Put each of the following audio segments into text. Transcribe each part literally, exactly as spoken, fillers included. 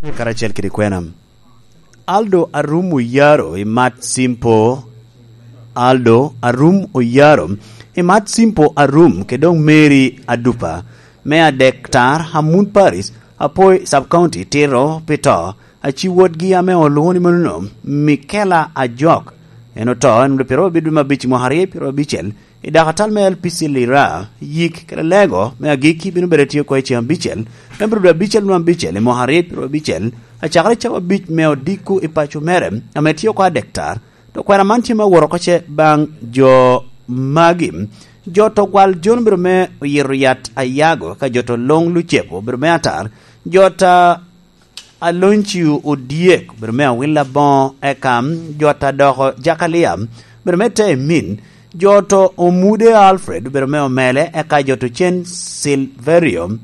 karacel kede kwena. Aldo Arum Oyaro i Mat Simpo, Aldo Arum Oyaro i Mat Simpo Arum, kede doŋ Mary Adupa, me adek tar, Amun Paris, Apoi Sub County, tito pi to, aci wotgi ame olwoŋo ni manono, Mikela Ajok. En oto, en obedo pyeraryo abiro dwe me abic, mwaka aryo pyeraryo abicel, i dakatal me L P C Lira, yik kede lego me agikki bino bedo tye oko i ceng abicel, me biro dwe abicel nwa abicel i mwaka aryo pyeraryo abicel, acakere cawa abic me odiko i paco mere, ame tye oko adek tar. To kwena man tye me awot oko ce baŋ jo magi. Jo to gwal Jon obedo me oyito yat Ayago, ka jo to Loŋ Lucepo obedo me atar, jo ta Aloncio Odyek obedo me awil aboŋo, eka jo ta doko Jakalia obedo me te emin, jo to Omude Alfred obedo me omele, eka jo to cen Silverio,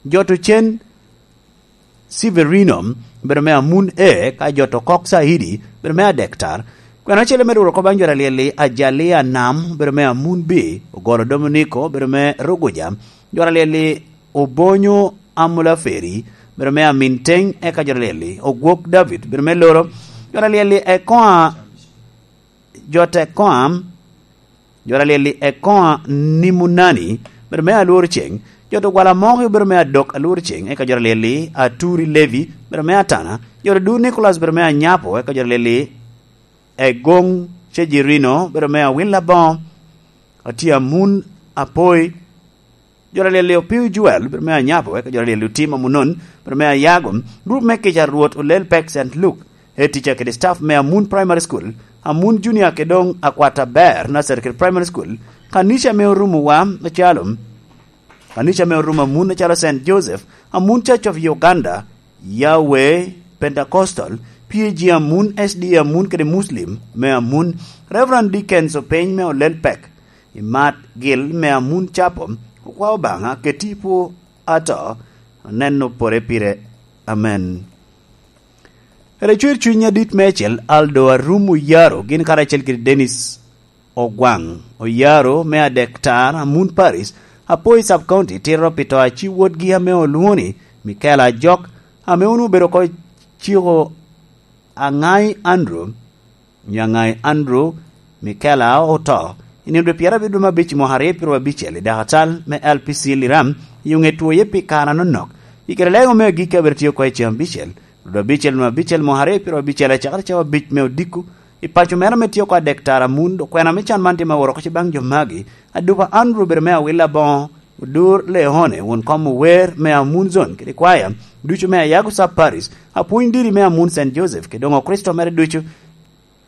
jo to cen Severino, bedo me amun A, ka jo to Kok Saidi, bedo me adek tar. Kwena acel me duro ko baŋ jo alyel-li, Ajalia Nam, bedo me amun B, Ogolo Dominico, bedo me Ruguja, jo alyel-li, Obonyo Amula Feri, bedo me amin Teng, eka jo alyel-li, Ogwok David, bedo me Loro, jo alyel-li, Ekoa, jo te Koam, jo alyel-li, Ekoa Nimunani, bedo me Alwor Ceng, jo to Gwala Moki, bedo me Adok Alwor Ceng, eka jo alyel-li, Aturi Levi, bedo me Atana, jo to Dur Nicholas, bedo me Anyapo, eka jo alyel-li, Egoŋ Cejirino, bedo me Awil Aboŋo, Atye Amun Apoi, jo alyel-li, Opiu Joel, bedo me Anyapo, eka jo alyel-li, Otim Amunon, bedo me Ayago, grup me kica Rwot Olel Pek Saint Luke, head teacher kede staff me Amun Primary School, Amun Junior kede doŋ Akwata Ber Nursery kede Primary School, kanica me orumo wa acalo, kanica me orumo Amun acalo Saint Joseph, Amun Church of Uganda, Yahweh Pentecostal, P A G Amun, S D A Amun kede Muslim me Amun, Reverend Dickens Openy me Olel Pek, Imat Gil me Amun Capo, okwao Obaŋa keti pwo ato, oneno pore pire. Amen. Ere cwer cuny adit meicel, Aldo Arum Oyaro, gin karacel kede Dennis Ogwaŋ Oyaro me adek tar, Amun Paris, Apoi Sub County, tito pi to aci wotgi ame olwoŋo ni Michael Ajok, ame onwoŋo obedo oko ciko Aŋai Andrew, Nyaŋai Andrew Mikela oto i nino dwe pyerabiro dwe me abic i mwaka aryo pyeraryo abicel i dakatal me L P C Liram i oŋe twoye pi kare anonok. I kare lego me agikki abedo tye oko i ceng abicel, dwe abicel nwe abicel mwaka aryo pyeraryo abicel acakere cawa abic me odiko i paco mere ame tye oko adek tara mun. Okwena me can man tye me woro oko ce baŋ jo magi: Adupa Andrew obedo me Awila Boŋo, Odur Leone, won kom ower me Amun Zone kede kwaya ducu me Ayago Sub Parish, apwony diri me Amun Saint Joseph, kede doŋ Okricito mere ducu,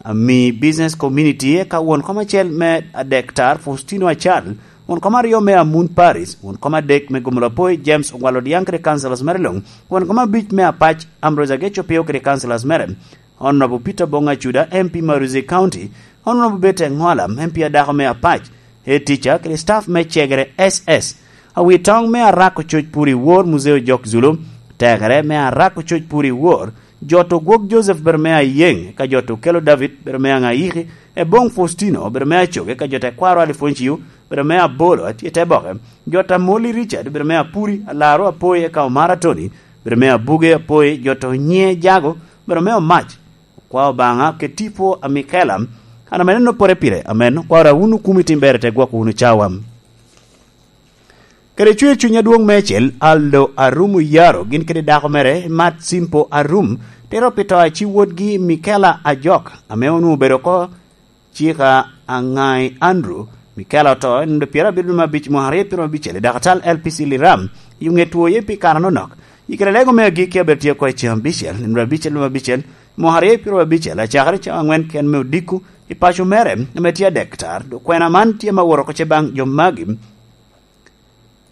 ami business community, eka won kom acel me adek tar Faustino Acal, won kom aryo me Amun Parish, won kom adek me Gomolo Apoi James Ogwal Odiaŋ kede councillors mere luŋ, won kom abic me Apac Ambrose Ageco Pio kede councillors mere, Honorable Peter Bonga Cuda, M P Maruzi County, Honorable Bete Ŋola, M P adako me Apac, head teacher kede staff me Cegere S S. Awitoŋ me Arak Ococ Puri Wor, Muzeo Jok Zulu, tekere me Arak Ococ Puri Wor, jo to Gwok Joseph bedo me Ayeŋ, ka jo to Kelo David bedo me Aŋayiki, Eboŋ Faustino bedo me Acoge, ka jo te Kwaro Alifoncio bedo me Abolo, atye te boke, jo ta Moli Richard bedo me Apuri, Alaro Apoi, eka Omara Tony bedo me Abuge Apoi, jo to Nye Jago bedo me Omac. Okwa Obaŋa keti pwo a Mikela, an ame neno pore pire, amen. Okwara wun okumi tim ber, te gwoko wunu cawa. Kede cwer cuny adwoŋ meicel, Aldo Arum Oyaro, gin kede dako mere, Mat Simpo Arum, tito pi to aci wotgi Mikela Ajok, ame onwoŋo obedo oko cika Aŋai Andrew. Mikela oto i nino dwe pyerabiro dwe me abic mwaka aryo pyeraryo abicel i dakatal L P C Liram, i oŋe twoye pi kare anonok. I kare lego me agikki abedo tye oko i ceng abicel, i nino dwe abicel dwe me abicel, mwaka aryo pyeraryo abicel, acakere cawa aŋwen ken me odiko i paco mere ame tye adek tar. Dok kwena man tye me woro oko ce baŋ jo magi: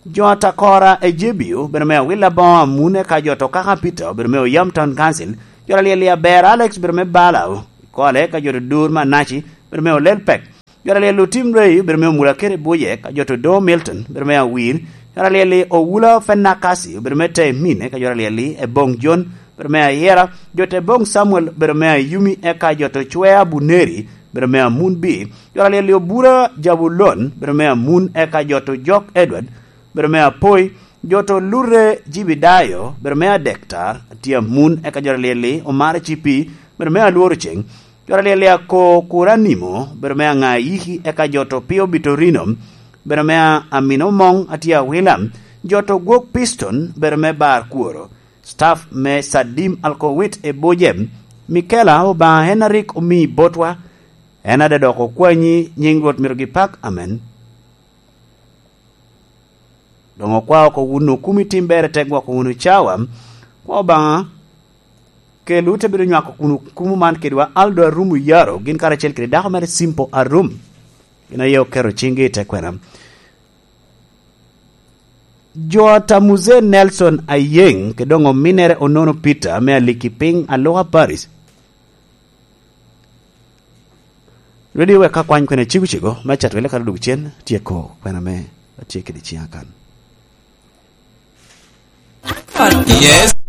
Jo Atakora Ejebio, bedo me Awila Boŋo Amun, eka jo to Kaka Peter, bedo me Oyam Town Council, jo alyel i Aber Alex, bedo me Bala Kole, eka jo to Dur Manaci, bedo me Olel Pek, jo alyel Otim Rei, bedo me Omula Kere Buje, eka jo to Doŋo Milton, bedo me Awir, jo alyel i Owula Fenakasi, bedo me Temin, eka jo alyel i Eboŋ Jon, bedo me Ayera, jo to Eboŋ Samuel, bedo me Ayumi, eka jo to Cwea Buneri, bedo me Amun Bi, jo alyel i Obura Jabulon, bedo me Amun, eka jo to Jok Edward, bedo me Apoi, Jo to lurre Jibidayo, bedo me adektar, atye amun, eka jo alyel-li, omar ecipi, bedo me alworo ceng. Jo alyel-li ako kur animo, bedo me aŋa yiki, eka jo to pio Bitorino, bedo me a-, amino moŋ, atye awila. Jo to gwok Piston, bedo me bar kworo. Staff me Sadim Alkowit e Boje, Mikela Obaŋa en a rik omi botwa, en a dok okwanyi nyiŋ Rwot myero gipak. Amen. Doŋ okwao oko wun okumi tim ber i te gwoko wunu cawa. Kwa Obaŋa, kelwu te bedo nywako kun okumu man kedwa Aldo Arum Oyaro, gin karacel kede dako mere Simple Arum. Gin aye oketo ciŋgi i te kwena. Jo a Tamuze Nelson Ayeŋ, kede doŋ ominere Onono Peter, me Aliki Piny, Aluka Paris. Ready wek ka kwany kwena cego cego, me cat wele kara duk cen, tyeko kwena me atye kede ciŋa kan. Yes.